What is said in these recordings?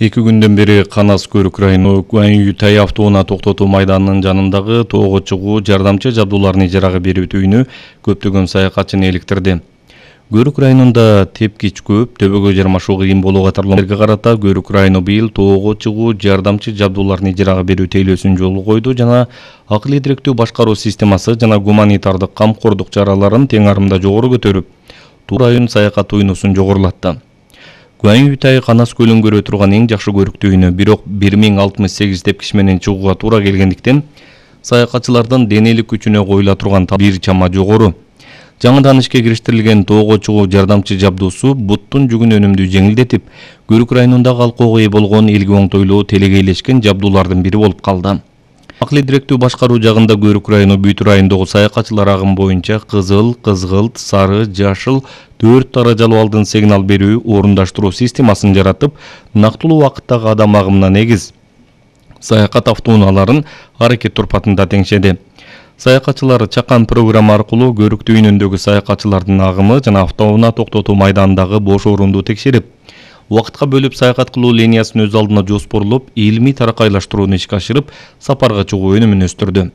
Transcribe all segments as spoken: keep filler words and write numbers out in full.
Эки күндөн бери Канас Көрүк району Гуань-Ютай автоунаа токтотуу майданынын жанындагы тоого чыгуу жардамчы жабдууларын ижарага берүү түйүнү көптөгөн саякатчыны эликтирди. Көрүк районунда тепкич көп, төбөгө жармашуу кыйын болуу катарларга карата Көрүк району быйыл тоого чыгуу жардамчы жабдууларын ижарага берүү тейлөөсүн жолго койду жана акыл идиректүү башкаруу системасы жана гуманитардык камкордук чараларын тең арымда жогору көтөрүп, Туу район саякат уюнусун жогорулатты. Гуань-Ютай Канас көлүн көрө турган эң жакшы көрүктүүнү, бирок бир миң алтымыш сегиз тепкич менен чыгууга туура келгендиктен саякатчылардын денелик күчүнө коюла турган талап бир чама жогору. Жаңыдан ишке кириштирилген тоого чыгуу жардамчы жабдуусу буттун жүгүн өнүмдүү жеңилдетип, Көрүк районундагы алкоого ээ болгон элге оңтойлуу телегейлешкен жабдуулардын бири болуп калды. Акыл идиректүү башкаруу жагында Көрүк району бүт райондогу саякатчылар агым боюнча кызыл, кызгылт, сары, жашыл төрт даражалуу алдын сигнал берүү орундаштыруу системасын жаратып, нактылуу убакыттагы адам агымына негиз саякат автоунааларын аракет турпатында теңшеди. Саякатчылар чакан программа аркылуу Көрүк түйүнүндөгү саякатчылардын агымы жана автоунаа токтотуу майданындагы бош орунду текшерип, убакытка бөлүп саякат кылуу линиясын өз алдына жоспорлоп, илимий таракайлаштырууну ишке ашырып, сапарга чыгуу өнүмүн өстүрдү.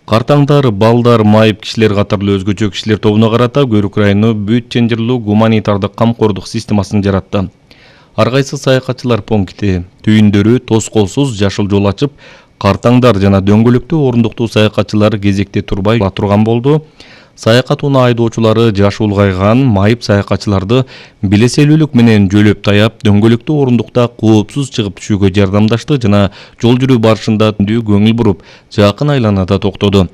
Картаңдар, балдар, майып кишилер катарлуу өзгөчө кишилер тобуна карата Көрүк району бүт ченжирлүү гуманитардык камкордук системасын жаратты. Ар кайсы саякатчылар пункти түйүндөрү тоскоолсуз жашыл жол ачып, картаңдар жана дөңгөлөктүү орундуктуу саякатчылар кезекте турбай турган болду. Саякат унаа айдоочулары жашы улгайган майып саякатчыларды билеселүүлүк менен жөлөп таяп, дөңгөлөктүү орундукта коопсуз чыгып түшүүгө жардамдашты жана жол жүрүү барышында көңүл буруп, жакын айланада токтоду.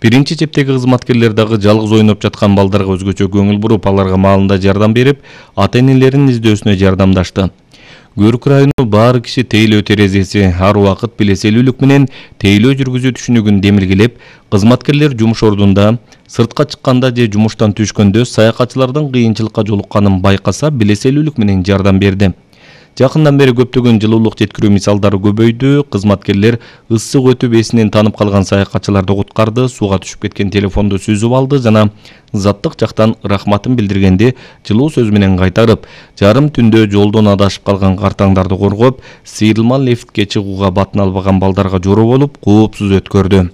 Биринчи чептеги кызматкерлер дагы жалгыз ойноп жаткан балдарга өзгөчө көңүл буруп, аларга маалында жардам берип, ата-энелеринин издөөсүнө жардамдашты. Көрүк району баары киши тейлөө терезеси ар убакыт билеселүүлүк менен тейлөө жүргүзүү түшүнүгүн демилгелеп, кызматкерлер жумуш ордунда, сыртка чыкканда же жумуштан түшкөндө саякатчылардын кыйынчылыкка жолукканын байкаса билеселүүлүк менен жардам берди. Жакындан бери көптөгөн жылуулук жеткирүү мисалдары көбөйдү. Кызматкерлер ысык өтүп эсинен танып калган саякатчыларды куткарды, сууга түшүп кеткен телефонду сүзүп алды жана заттык жактан рахматын билдиргенде жылуу сөз менен кайтарып, жарым түндө жолдон адашып калган картаңдарды коргоп, сейрилма лифтке чыгууга батын албаган балдарга жороо болуп, коопсуз өткөрдү.